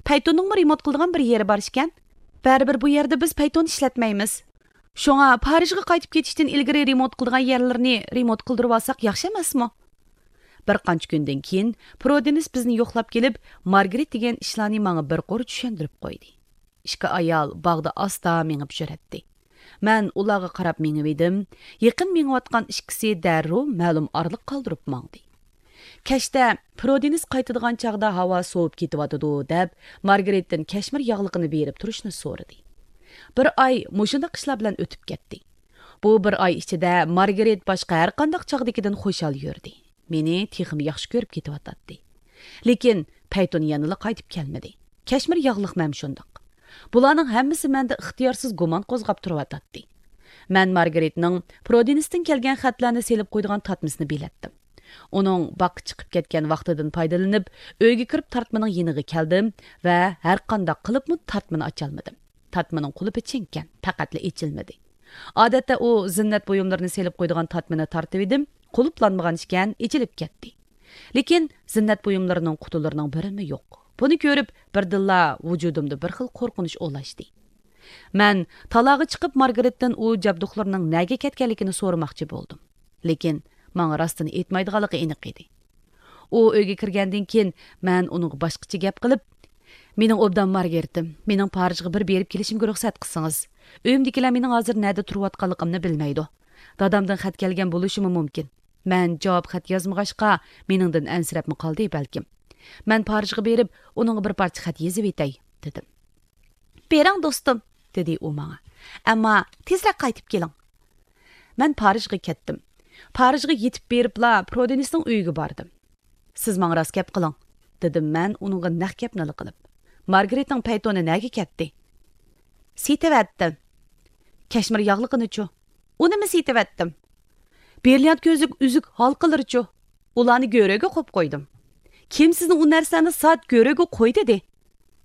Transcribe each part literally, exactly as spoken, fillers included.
پەيتوننىڭمۇ رېمونت قىلىدىغان بىر يېرى بار ئىكەن. بەرىبىر بۇ يەردە بىز پەيتون ئىشلەتمەيمىز. شۇڭا پارىژغا قايتىپ كېتىشتىن ئىلگىرى رېمونت قىلىدىغان يەرلىرىنى رېمونت قىلدۇرۇۋالساق ياخشى ئەمەسمۇ؟ بىر قانچە كۈندىن كېيىن پرودېنىس بىزنى يوقلاپ كېلىپ، مارگرېت دېگەن ئىشلارنى ماڭا بىر قۇر چۈشەندۈرۈپ قويدى. ئىككى ئايال باغدا ئاستا مېڭىپ يۈرەتتى. مەن ئۇلارغا قاراپ مېڭىۋىدىم. يېقىن مېڭىۋاتقان ئىككىسى دەررۇ مەلۇم ئارىلىق قالدۇرۇپ ماڭدى. كەچتە پرودېنىس قايتىدىغان چاغدا ھاۋا سوۋۇپ كېتىۋاتىدۇ، دەپ، مارگرېتتىن كەشمىر ياغلىقىنى بېرىپ تۇرۇشنى سورىدى. بىر ئاي مۇشۇنداق ئىشلار بىلەن ئۆتۈپ كەتتى. بۇ بىر ئاي ئىچىدە مارگرېت باشقا ھەرقانداق چاغدىكىدىن خۇشال يۈردى. مېنى تېخىمۇ ياخشى كۆرۈپ كېتىۋاتاتتى. لېكىن پەيتون يەنىلا قايتىپ كەلمىدى. كەشمىر ياغلىقمۇ ھەم شۇنداق. بۇلارنىڭ ھەممىسى مەندە ئىختىيارسىز گۇمان قوزغاپ تۇرۇۋاتاتتى. مەن مارگرېتنىڭ پرودېنىستىن كەلگەن خەتلەرنى سېلىپ قويىدىغان تارتمىسىنى بىلەتتىم. ئۇنىڭ باغقا چىقىپ كەتكەن ۋاقتىدىن پايدىلىنىپ، ئۆيگە كىرىپ تارتمىنىڭ يېنىغا كەلدىم ۋە ھەرقانداق قىلىپمۇ تارتمىنى ئاچالمىدىم. تارتمىنىڭ قۇلۇپى چىڭكەن، پەقەتلا ئېچىلمىدى. ئادەتتە ئۇ زىننەت بۇيۇملىرىنى سېلىپ قويىدىغان تارتمىنى تارتىۋىدىم، قۇلۇپلانمىغان ئىكەن، ئېچىلىپ كەتتى. لېكىن زىننەت بۇيۇملىرىنىڭ قۇتىلىرىنىڭ بىرىمۇ يوق. بۇنى كۆرۈپ، بىردىنلا ۋۇجۇدۇمدا بىر خىل قورقۇنچ ئولاشتى. مەن تالاغا چىقىپ مارگرېتتىن ئۇ جابدۇقلىرىنىڭ نەگە كەتكەنلىكىنى سورىماقچى بولدۇم. لېكىن ماڭا راستىنى ئېيتمايدىغانلىقى ئېنىق ئىدى. ئۇ ئۆيگە كىرگەندىن كېيىن مەن ئۇنىڭغا باشقىچە گەپ قىلىپ، «مېنىڭ ئوبدان مارگرېتىم، مېنىڭ پارىژغا بىر بېرىپ كېلىشىمگە رۇخسەت قىلسىڭىز. ئۆيۈمدىكىلەر مېنىڭ ھازىر نەدە تۇرۇۋاتقانلىقىمنى بىلمەيدۇ. دادامدىن خەت كەلگەن بولۇشىمۇ مۇمكىن. مەن جاۋاب خەت يازمىغاچقا، مېنىڭدىن ئەنسىرەپمۇ قالدى بەلكىم. مەن پارىژغا بېرىپ، ئۇنىڭغا بىر پارچە خەت يېزىۋېتەي»، دېدىم. «بېرىڭ، دوستۇم»، دېدى ئۇ ماڭا. «ئەمما تېزرەك قايتىپ كېلىڭ.» مەن پارىژغا كەتتىم. پارىژغا يېتىپ بېرىپلا پرودېنىسنىڭ ئۆيىگە باردىم. «سىز ماڭا راست گەپ قىلىڭ»، دېدىم مەن ئۇنىڭغا نەق گەپنىلا قىلىپ. «مارگرېتنىڭ پەيتونى نەگە كەتتى؟» «سېتىۋەتتىم.» «كەشمىر ياغلىقىنىچۇ؟» «ئۇنىمۇ سېتىۋەتتىم.» «برىليانت كۆزلۈك، ئۈزۈك، ھالقىلىرىچۇ؟» «ئۇلارنى گۆرۈگە قويۇپ قويدۇم.» «كىم سىزنى ئۇ نەرسىلەرنى سات، گۆرۈگە قوي دېدى؟»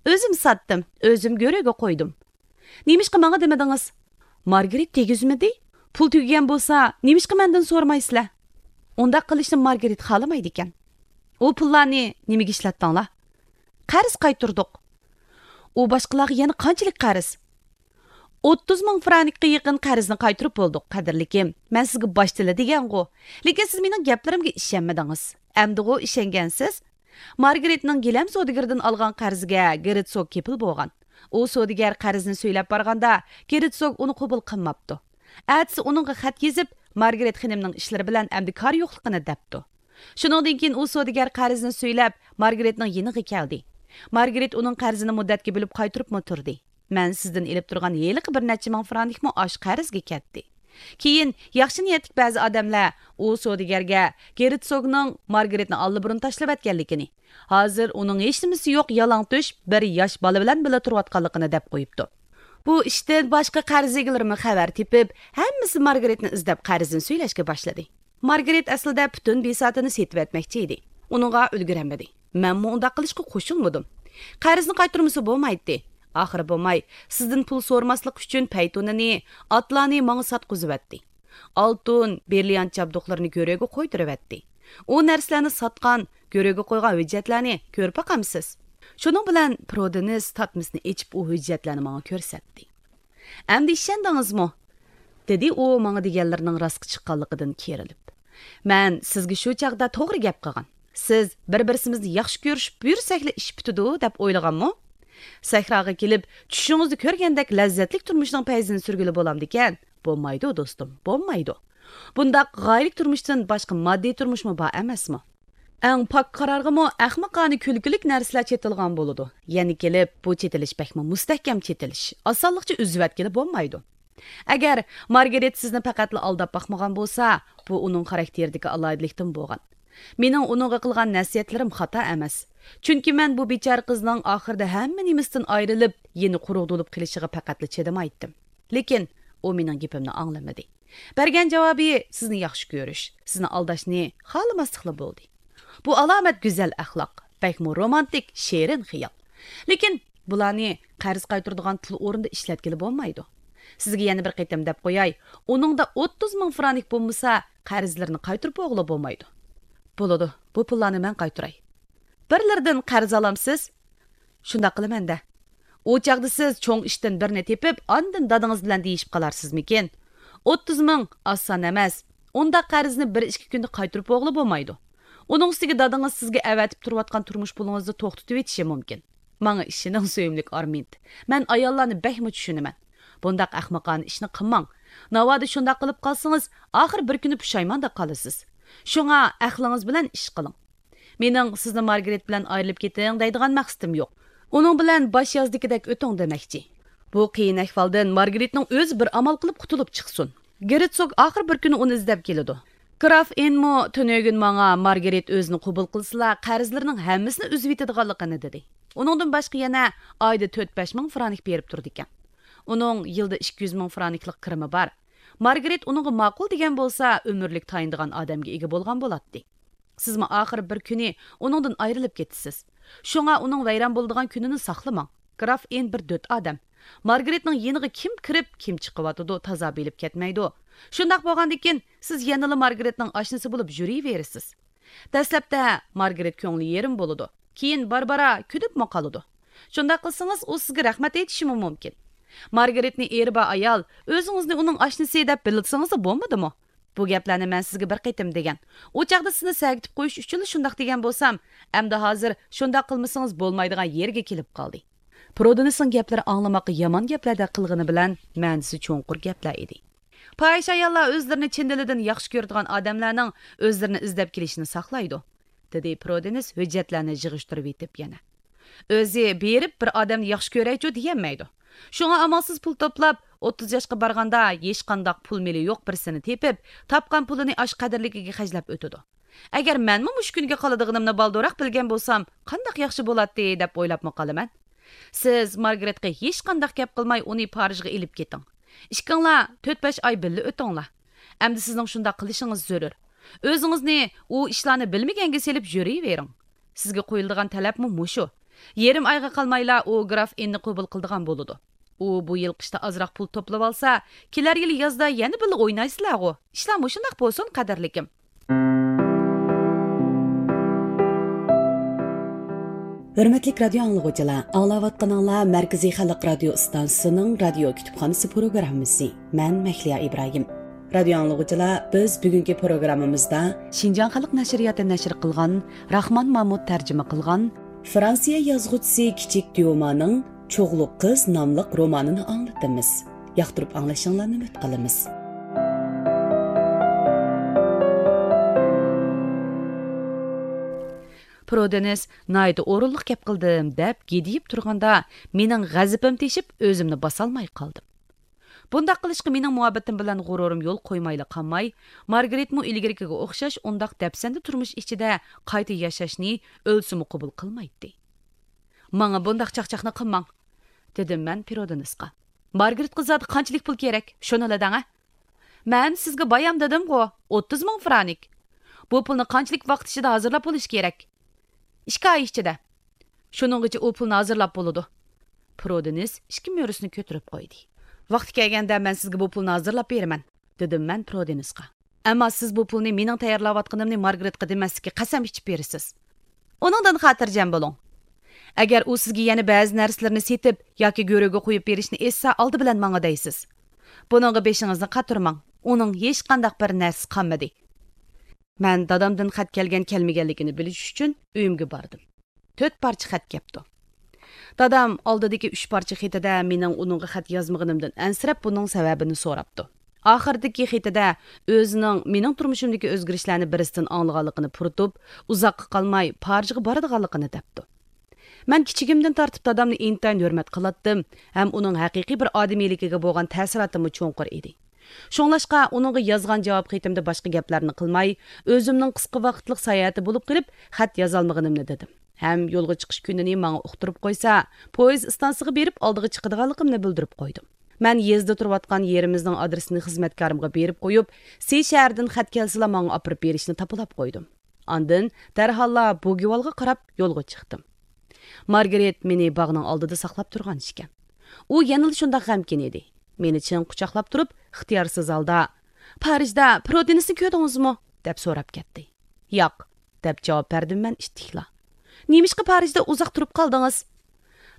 «ئۆزۈم ساتتىم، ئۆزۈم گۆرۈگە قويدۇم.» «نېمىشقا ماڭا دېمىدىڭىز؟» «مارگرېت دېگۈزمىدى؟ پۇل تۈگىگەن بولسا، نېمىشقا مەندىن سورىمايسىلەر؟» «ئۇنداق قىلىشنى مارگرېت خالىمايدىكەن.» «ئۇ پۇللارنى نېمىگە ئىشلەتتىڭلار؟» «قەرز قايتۇردۇق.» «ئۇ باشقىلارغا يەنە قانچىلىك قەرز؟» «ئوتتۇز مىڭ فرانكقا يېقىن قەرزنى قايتۇرۇپ بولدۇق، قەدىرلىكىم. مەن سىزگە باشتىلا دېگەنغۇ. لېكىن سىز مېنىڭ گەپلىرىمگە ئىشەنمىدىڭىز. ئەمدىغۇ ئىشەنگەنسىز؟» مارگرېتنىڭ گىلەم سودىگىرىدىن ئالغان قەرزىگە گېرتسوگ كېپىل بولغان. ئۇ سودىگەر قەرزنى سۈيلەپ بارغاندا، گېرتسوگ ئۇنى قوبۇل قىلماپتۇ. ئەتىسى ئۇنىڭغا خەت يېزىپ، مارگرېت خېنىمنىڭ ئىشلىرى بىلەن ئەمدى كارى يوقلۇقىنى دەپتۇ. شۇنىڭدىن كېيىن ئۇ سودىگەر قەرزنى سۈيلەپ، مارگرېتنىڭ يېنىغا كەلدى. مارگرېت ئۇنىڭ قەرزىنى مۇددەتكە بۆلۈپ قايتۇرۇپمۇ تۇردى. مەن سىزدىن ئېلىپ تۇرغان ھېلىقى بىر نەچچە مىڭ فرانكمۇ ئاشۇ قەرزگە كەتتى. كېيىن ياخشى نىيەتلىك بەزى ئادەملەر ئۇ سودىگەرگە گېرتسوگنىڭ مارگرېتنى ئاللىبۇرۇن تاشلىۋەتكەنلىكىنى، ھازىر ئۇنىڭ ھېچنېمىسى يوق يالىڭتۆش بىر ياش بالا بىلەن بىللە تۇرۇۋاتقانلىقىنى دەپ قويۇپتۇ. بۇ ئىشتىن باشقا قەرز ئىگىلىرىمۇ خەۋەر تېپىپ، ھەممىسى مارگرېتنى ئىزدەپ قەرزنى سۈيلەشكە باشلىدى. مارگرېت ئەسلىدە پۈتۈن بىساتىنى سېتىۋەتمەكچى ئىدى. ئۇنىڭغا ئۈلگۈرەلمىدى. مەنمۇ ئۇنداق قىلىشقا قوشۇلمىدىم. قەرزنى قايتۇرمىسا بولمايتتى. ئاخىرى بولماي، سىزدىن پۇل سورىماسلىق ئۈچۈن پەيتۇنىنى، ئاتلارنى ماڭا ساتقۇزۇۋەتتى. ئالتۇن، برىليانت جابدۇقلىرىنى گۆرۈگە قويدۇرۇۋەتتى. ئۇ نەرسىلەرنى ساتقان، گۆرۈگە قويغان ھۆججەتلەرنى كۆرۈپ باقامسىز؟ شۇنىڭ بىلەن پرودېنىس تارتمىسىنى ئېچىپ، ئۇ ھۆججەتلەرنى ماڭا كۆرسەتتى. ئەمدى ئىشەندىڭىزمۇ؟ دېدى ئۇ ماڭا دېگەنلىرىنىڭ راستقا چىققانلىقىدىن كېرىلىپ. مەن سىزگە شۇ چاغدا توغرا گەپ قىلغان. سىز بىر-بىرسىمىزنى ياخشى كۆرۈشۈپ يۈرسەكلا ئىش پۈتىدۇ دەپ ئويلىغانمۇ؟ سەھراغا كېلىپ، چۈشىڭىزدە كۆرگەندەك لەززەتلىك تۇرمۇشنىڭ پەيزىنى سۈرگىلى بولامدىكەن؟ بولمايدۇ، دوستۇم، بولمايدۇ. بۇنداق غايىلىك تۇرمۇشتىن باشقا ماددىي تۇرمۇشمۇ بار ئەمەسمۇ؟ ئەڭ پاك قارارغىمۇ ئەخمىقانە كۈلكىلىك نەرسىلەر چېتىلغان بولىدۇ. يەنە كېلىپ، بۇ چېتىلىش بەكمۇ مۇستەھكەم چېتىلىش. ئاسانلىقچە ئۈزۈۋەتكىلى بولمايدۇ. ئەگەر مارگرېت سىزنى پەقەتلا ئالداپ باقمىغان بولسا، بۇ ئۇنىڭ خاراكتېرىدىكى ئالاھىدىلىكتىن بولغان. مېنىڭ ئۇنىڭغا قىلغان نەسىھەتلىرىم خاتا ئەمەس. چۈنكى مەن بۇ بىچارە قىزنىڭ ئاخىرىدا ھەممە نېمىسىدىن ئايرىلىپ، يەنە قۇرۇق بولۇپ قېلىشىغا پەقەتلا چىدىمايتتىم. لېكىن ئۇ مېنىڭ گېپىمنى ئاڭلىمىدى. بەرگەن جاۋابى سىزنى ياخشى كۆرۈش، سىزنى ئالداشنى خالىماسلىقلا بولدى. بۇ ئالامەت گۈزەل ئەخلاق، بەكمۇ رومانتىك، شېرىن خىيال. لېكىن بۇلارنى قەرز قايتۇرىدىغان پۇل ئورنىدا ئىشلەتكىلى بولمايدۇ. سىزگە يەنە بىر قېتىم دەپ قوياي، ئۇنىڭدا ئوتتۇز مىڭ فرانك بولمىسا، قەرزلىرىنى قايتۇرۇپ بولغىلى بولمايدۇ. بولىدۇ، بۇ پۇللارنى مەن قايتۇراي. بىرلىرىدىن قەرز ئالامسىز؟ شۇنداق قىلىمەن-دە. ئۇ چاغدا سىز چوڭ ئىشتىن بىرنى تېپىپ، ئاندىن دادىڭىز بىلەن دېيىشىپ قالارسىزمىكىن؟ ئوتتۇز مىڭ ئاز سان ئەمەس. ئۇنداق قەرزنى بىر ئىككى كۈندە قايتۇرۇپ بولغىلى بولمايدۇ. ئۇنىڭ ئۈستىگە دادىڭىز سىزگە ئەۋەتىپ تۇرۇۋاتقان تۇرمۇش پۇلىڭىزنى توختىتىۋېتىشى مۇمكىن. ماڭا ئىشىنىڭ، سۆيۈملۈك ئارمىند. مەن ئاياللارنى بەكمۇ چۈشىنىمەن. بۇنداق ئەخمىقانە ئىشنى قىلماڭ. ناۋادا شۇنداق قىلىپ قالسىڭىز، ئاخىر بىر كۈنى پۇشايماندا قالىسىز. شۇڭا ئەقلىڭىز بىلەن ئىش قىلىڭ. مېنىڭ سىزنى مارگرېت بىلەن ئايرىلىپ كېتىڭ دەيدىغان مەقسىتىم يوق. ئۇنىڭ بىلەن باش يازدىكىدەك ئۆتۈڭ دېمەكچى. بۇ قىيىن ئەھۋالدىن مارگرېتنىڭ ئۆزى بىر ئامال قىلىپ قۇتۇلۇپ چىقسۇن. گېرتسوگ ئاخىر بىر كۈنى ئۇنى ئىزدەپ كېلىدۇ. گراف ئېنمۇ تۈنۈگۈن ماڭا مارگرېت ئۆزىنى قوبۇل قىلسىلا، قەرزلىرىنىڭ ھەممىسىنى ئۈزۈۋېتىدىغانلىقىنى دېدى. ئۇنىڭدىن باشقا يەنە ئايدا تۆت-بەش مىڭ فرانك بېرىپ تۇرىدىكەن. ئۇنىڭ يىلدا ئىككى يۈز مىڭ فرانكلىق كىرىمى بار. مارگرېت ئۇنىڭغا ماقۇل دېگەن بولسا، ئۆمۈرلۈك تايىنىدىغان ئادەمگە ئىگە بولغان بولاتتى. سىزمۇ ئاخىر بىر كۈنى ئۇنىڭدىن ئايرىلىپ كېتىسىز. شۇڭا ئۇنىڭ ۋەيران بولىدىغان كۈنىنى ساقلىماڭ. گراف ئېن بىر دۆت ئادەم. مارگرېتنىڭ يېنىغا كىم كىرىپ، كىم چىقىۋاتىدۇ، تازا بىلىپ كەتمەيدۇ. شۇنداق بولغاندىكىن، سىز يەنىلا مارگرېتنىڭ ئاشنىسى بولۇپ يۈرۈۋېرىسىز. دەسلەپتە مارگرېت كۆڭلى يېرىم بولىدۇ. كېيىن بارا-بارا كۈدۈپمۇ قالىدۇ. شۇنداق قىلسىڭىز، ئۇ سىزگە رەھمەت ئېيتىشىمۇ مۇمكىن. مارگرېتنى ئېرى بار ئايال، ئۆزىڭىزنى ئۇنىڭ ئاشنىسى دەپ بىلسىڭىزلا بولمىدىمۇ؟ بۇ گەپلەرنى مەن سىزگە بىر قېتىم دېگەن. ئۇ چاغدا سىزنى سەگىتىپ قويۇش ئۈچۈنلا شۇنداق دېگەن بولسام، ئەمدى ھازىر شۇنداق قىلمىسىڭىز بولمايدىغان يېرىگە كېلىپ قالدى. پرودېنسنىڭ گەپلىرى ئاڭلىماققا يامان گەپلەردەك قىلغىنى بىلەن، مەنىسى چوڭقۇر گەپلەر ئىدى. پاھىشە ئاياللار ئۆزلىرىنى چىن دىلىدىن ياخشى كۆرىدىغان ئادەملەرنىڭ ئۆزلىرىنى ئىزدەپ كېلىشىنى ساقلايدۇ، دېدى پرودېنس ھۆججەتلەرنى يىغىشتۇرۇۋېتىپ يەنە. ئۆزى بېرىپ بىر ئادەمنى ياخشى كۆرەيچۇ دېيەلمەيدۇ. شۇڭا ئامالسىز پۇل توپلاپ، ئوتتۇز ياشقا بارغاندا ھېچقانداق پۇل مېلى يوق بىرسىنى تېپىپ، تاپقان پۇلىنى ئاشۇ قەدىرلىكىگە خەجلەپ ئۆتىدۇ. ئەگەر مەنمۇ مۇشۇ كۈنگە قالىدىغىنىمنى بالدۇرراق بىلگەن بولسام، قانداق ياخشى بولاتتى دەپ ئويلاپمۇ قالىمەن. سىز مارگرېتقا ھېچقانداق گەپ قىلماي ئۇنى پارىژغا ئېلىپ كېتىڭ. ئىككىڭلار تۆت-بەش ئاي بىللە ئۆتۈڭلار. ئەمدى سىزنىڭ شۇنداق قىلىشىڭىز زۆرۈر. ئۆزىڭىزنى ئۇ ئىشلارنى بىلمىگەنگە سېلىپ يۈرۈۋېرىڭ. سىزگە قويۇلىدىغان تەلەپمۇ مۇشۇ. يېرىم ئايغا قالمايلا ئۇ گراف ئېننى قوبۇل قىلىدىغان بولىدۇ. ئۇ بۇ يىل قىشتا ئازراق پۇل توپلىۋالسا، كېلەر يىلى يازدا يەنە بىللە ئوينايسىلەرغۇ. ئىشلار مۇشۇنداق بولسۇن، قەدىرلىكىم. ھۆرمەتلىك رادىيو ئاڭلىغۇچىلار، ئاڭلاۋاتقىنىڭلار مەركىزىي خەلق رادىيو ئىستانسىسىنىڭ رادىيو كۇتۇپخانىسى پروگراممىسى. مەن مەھلىيا ئىبراھىم. رادىيو ئاڭلىغۇچىلار، بىز بۈگۈنكى پروگراممىمىزدا شىنجاڭ خەلق نەشرىياتى نەشر قىلغان، راخمان مامۇت تەرجىمە قىلغان، فرانسىيە يازغۇچىسى كىچىك ديومانىڭ چوغلۇق قىز ناملىق رومانىنى ئاڭلىتىمىز. ياقتۇرۇپ ئاڭلىشىڭلارنى ئۈمىد قىلىمىز. پرودېنس ناھايىتى ئورۇنلۇق گەپ قىلدىم دەپ گىدىيىپ تۇرغاندا، مېنىڭ غەزىپىم تېشىپ، ئۆزۈمنى باسالماي قالدىم. بۇنداق قىلىشقا مېنىڭ مۇھەببىتىم بىلەن غۇرۇرۇم يول قويمايلا قالماي، مارگرېتمۇ ئىلگىرىكىگە ئوخشاش ئۇنداق دەپسەندە تۇرمۇش ئىچىدە قايتا ياشاشنى ئۆلسىمۇ قوبۇل قىلمايتتى. ماڭا بۇنداق چاقچاقنى قىلماڭ، دېدىم مەن پرودېنسقا. مارگرېتقا زادى قانچىلىك پۇل كېرەك، شۇنىلا دەڭە. مەن سىزگە بايام دېدىمغۇ، ئوتتۇز مىڭ فرانك. بۇ پۇلنى قانچىلىك ۋاقىت ئىچىدە ھازىرلاپ بولۇش كېرەك؟ ئىككى ئاي ئىچىدە. شۇنىڭغىچە ئۇ پۇلنى ھازىرلاپ بولىدۇ. پرودېنس ئىككى مۈرىسىنى كۆتۈرۈپ قويدى. ۋاقتى كەلگەندە مەن سىزگە بۇ پۇلنى ھازىرلاپ بېرىمەن، دېدىم مەن پرودېنسقا. ئەمما سىز بۇ پۇلنى مېنىڭ تەييارلاۋاتقىنىمنى مارگرېتقا دېمەسلىككە قەسەم ئىچىپ بېرىسىز. ئۇنىڭدىن خاتىرجەم بولۇڭ. ئەگەر ئۇ سىزگە يەنە بەزى نەرسىلىرىنى سېتىپ ياكى گۆرۈگە قويۇپ بېرىشنى ئېيتسا، ئالدى بىلەن ماڭا دەيسىز. بۇنىڭغا بېشىڭىزنى قاتۇرماڭ. ئۇنىڭ ھېچقانداق بىر نەرسىسى قالمىدى. مەن دادامدىن خەت كەلگەن كەلمىگەنلىكىنى بىلىش ئۈچۈن ئۆيۈمگە باردىم. تۆت پارچە خەت كەپتۇ. دادام ئالدىدىكى ئۈچ پارچە خېتىدە مېنىڭ ئۇنىڭغا خەت يازمىغىنىمدىن ئەنسىرەپ، بۇنىڭ سەۋەبىنى سوراپتۇ. ئاخىرىدىكى خېتىدە ئۆزىنىڭ مېنىڭ تۇرمۇشۇمدىكى ئۆزگىرىشلەرنى بىرسىدىن ئاڭلىغانلىقىنى پۇرىتىپ، ئۇزاققا قالماي پارىژغا بارىدىغانلىقىنى دەپتۇ. مەن كىچىكىمدىن تارتىپ دادامنى ئىنتايىن ھۆرمەت قىلاتتىم ھەم ئۇنىڭ ھەقىقىي بىر ئادىمىيلىكىگە بولغان تەسىراتىممۇ چوڭقۇر ئىدى. شۇڭلاشقا ئۇنىڭغا يازغان جاۋاب خېتىمدە باشقا گەپلەرنى قىلماي، ئۆزۈمنىڭ قىسقا ۋاقىتلىق ساياھىتى بولۇپ قېلىپ، خەت يازالمىغىنىمنى دېدىم. ھەم يولغا چىقىش كۈنىنى ماڭا ئۇقتۇرۇپ قويسا، پويىز ئىستانسىسىغا بېرىپ ئالدىغا چىقىدىغانلىقىمنى بىلدۈرۈپ قويدۇم. مەن يېزىدا تۇرۇۋاتقان يېرىمىزنىڭ ئادرېسىنى خىزمەتكارىمغا بېرىپ قويۇپ، سى شەھىرىدىن خەت كەلسىلا ماڭا ئاپىرىپ بېرىشنى تاپىلاپ قويدۇم. ئاندىن دەرھاللا بوگىۋالغا قاراپ يولغا چىقتىم. مارگرېت مېنى باغنىڭ ئالدىدا ساقلاپ تۇرغان ئىكەن. ئۇ يەنىلا شۇنداق غەمكىن ئىدى. مېنى چىڭ قۇچاقلاپ تۇرۇپ، ئىختىيارسىز ھالدا، «پارىژدا پرودېنسنى كۆردىڭىزمۇ؟» دەپ سوراپ كەتتى. «ياق»، دەپ جاۋاب بەردىم مەن ئىتتىكلا. «نېمىشقا پارىژدا ئۇزاق تۇرۇپ قالدىڭىز؟»